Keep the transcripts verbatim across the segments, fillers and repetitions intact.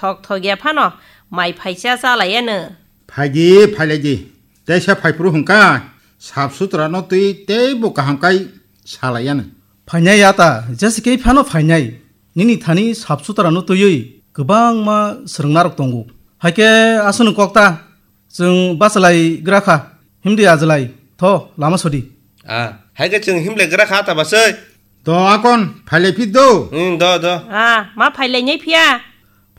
Thok thok ya phano mai phaisa chalai ano. Phaidi, phailai di. Teisa phaiphuru hwnkha, sap sutra no twi teibo kaham kai salai ano. Phainai ya ta, jese kei phano phainai. Nini thani sap sutra no twiwi kwbangma swrwngna rok tongo. Haikhe aswkno kok ta, chwng bachalai gra kha. Himdi ajlai, tho, lama sodi. Ah, hai khe chwng himlai gra kha ta basai. Do akon, phailai phi do. Hmm, do, do. Ah, ma phailai nai phiya.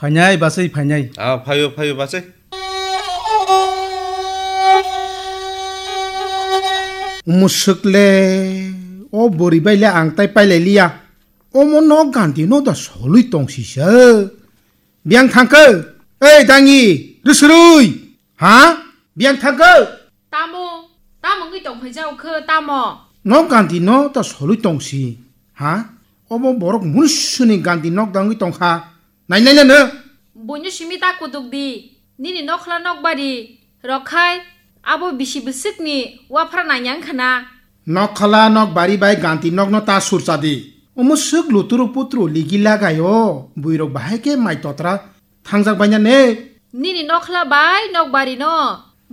Phainai basai phainai. Ah, phaio, phaio basai. Musuk le, o bori bai le ang tai pailai liya. Omo no ganti no da solui tong sisa. Biang thangkhe, ei dangi, rwsrwi. Ha? Biang thangkhe? Tamo, tamo wngwi tongphai jao khe, tamo? Nok ganti no ta solwi tongsi, ha? Obo borok munsuni ganti nok dangwi tongkha. Nai nai nano. Buino simi ta kutuk di. Nini nokhla nokbari rok khai abo bisi bwswkni waphra nangya wngkha na. Nokhla nokbari bai ganti nokno ta surcha di. Omo swk luturu putru ligi lagaio. Buirok bahai khe mai totra thangjak baina ne. Nini nokhla bai nokbari no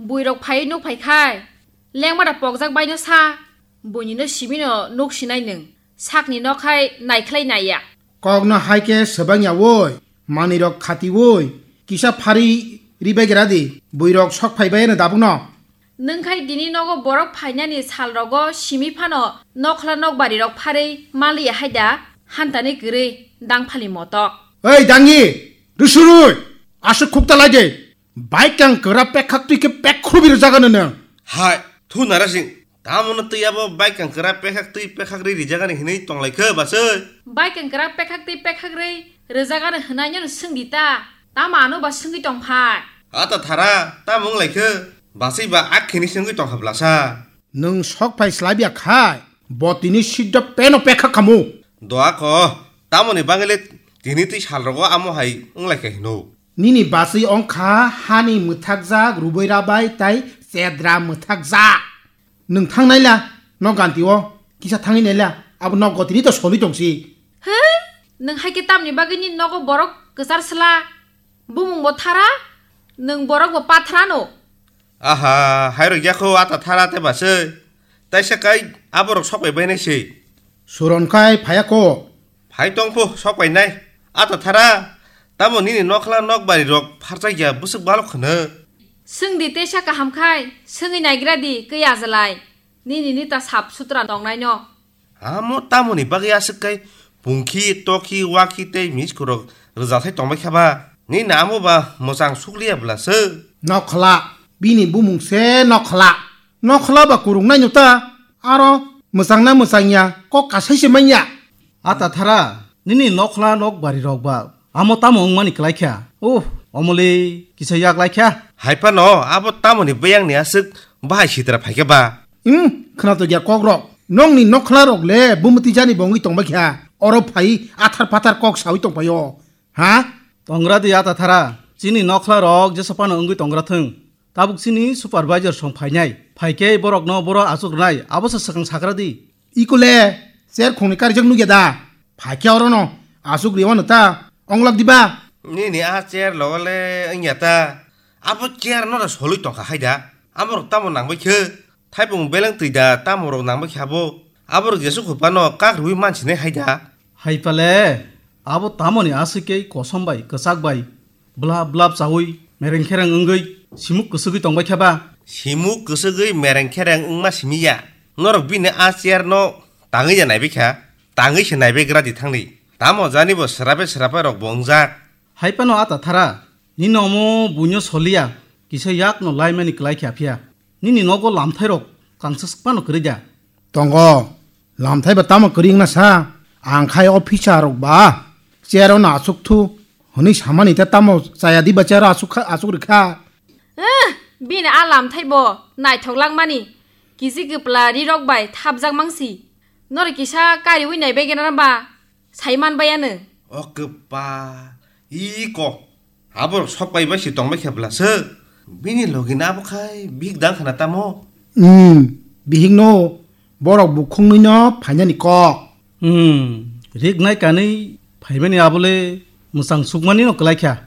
buirok phai nuk phai khai lengmada pokjak baino sa. Buini no simi no nuk sinai nwng. Sakni nok hai naikhlai naiya. Kokno hai khe swbang ya woi, manwi rok khati woi, kisa phari ri bai gra di, buirok sok phai bai ano dabuk no. Nwng khai dini nogo borok phainani sal rogo simi phano nokhla nokbari rok pharwi maliya hai da, hantani kwrwi dangphali motok. Ei dangi, rwsrwi, aswk khukta lai de, baikang kwra pekhak twi khe pek khrubi rwjak ano nwng. Hai, thu narasing, Tamo no twi abo baikang kwra pekhak twi pekhak rwi rijak ani hinwi tong lai khe basai? Baikang kwra pekhak twi pekhak rwi rijak ani hwnai no swng di ta. Tamo ano ba swngwi tong phai? Ata thara, tamo wng lai khe? Basai ba akhini swngwi tong kha blasa. Nwng sok phai slai biya khai, bo tini siddo peno pekhak khamu. Doa ko, tamoni bagwi le tini twi sal rogo amo hai wng lai kha hino. Nini basai wng kha hani mwthakjak ruboi rabai tai chedra mwthakjak. Nwng thang naila, nok ganti o, kisa thangwi naila, abo nok gotini to soli tongsi. He? Nwng hai khe tamni bagwi nini nogo borok kwchar sla? Bumung bo thara, nwng borok bo pathra no. Aha, hairok yakho ata thara te basai. Taisa kai aborok sok bai bainai se. Suron kai phaya ko. Phai tong pho, sok bai nai. Ata thara, tamo nini nokhla nokbari rok pharchak ya bwswk balok khwno. Swng di tesa kaham khai, swngwi naigra di, kwi ajalai. Nini nita sap sutra tongnai no. Amo tamoni bagwi aswk kai pungkhi, tokhi, wakhi tei miskorok rwjathai tongbai kha ba? Nini amo ba mwchang sukliya bwla se. Nokhla, bini bumung se nokhla. Nokhla ba kurungnai no ta, aro mwchangna mwchangya, kok kasai se manya. Ata thara, nini nokhla nokbari rok ba, amo tamo wngmani kwlai kha. Uh, omoli kisa yak lai kha. Hai phano abo tamoni beyang ni aswk bahai sitra phai kha ba? Hmm, khwna to gya kok rok. Nokni nokhla rok le bumti jani bo wngwi tongbai kha. Oro phai athar pathar kok sawi tongpaio. Ha? Tongra di ata thara. Chini nokhla rok jesa phano wngwi tongra thung. Tabuk chini supervisor song phainai. Phaikhe borokno boro achuk rwnai, abo se swkang sakra di. Ikole, chair khongni karijak nukya da? Phaikhe orono achuk riwano ta, onglak diba? Nini a chair logole wngya ta? Abo chair no da solwi tongkha hai da? Amorok tamo nangbai khe? Thaipung beleng twi da tamorok nangbai khe abo? Aborok Jesu khuphano kak rwui mansinai hai da? Hai pale, abo tamoni aswk kei kosom bai, kwchak bai, blap blap chaui, mereng khereng wngwi, simuk kwswgwi tongbai khe ba? Simuk kwswgwi mereng khereng wngma simi ya. Norok bini a chair no tangwi ya naibai kha, tangwi se naibai gra di thangni. Tamo jani bo swrape swrape rok bo wngjak. Hai phano ata thara, nini omo buino soliya, kisa yak no laimani kwlai kha phiya. Nini nogo lamthai rok kangsa swk phano kwrwi da? Tongo, lamthai ba tamo kwrwi wngna sa? Ang khai o phisa rok ba chair o no achuk thu hwnwi samani ta tamo chaya di ba chair o achuk kha, achuk rwkha. Eh, bini a lamthai bo naithok langmani. Kisi kwpla ri rok bai thapjak mangsi. Norok kisa kariwi nai bai gana ba? Sai man bai ano. O kwpa, iko. Aborok sok pai bai si tong bai khe bwla se. Bini logi na abo khai big dang khana tamo. Hmm, bihik no borok bukhung nwi no phainani kok. Hmm, rik nai kanwi phaimani abole mwchang sukmani no kwlai kha.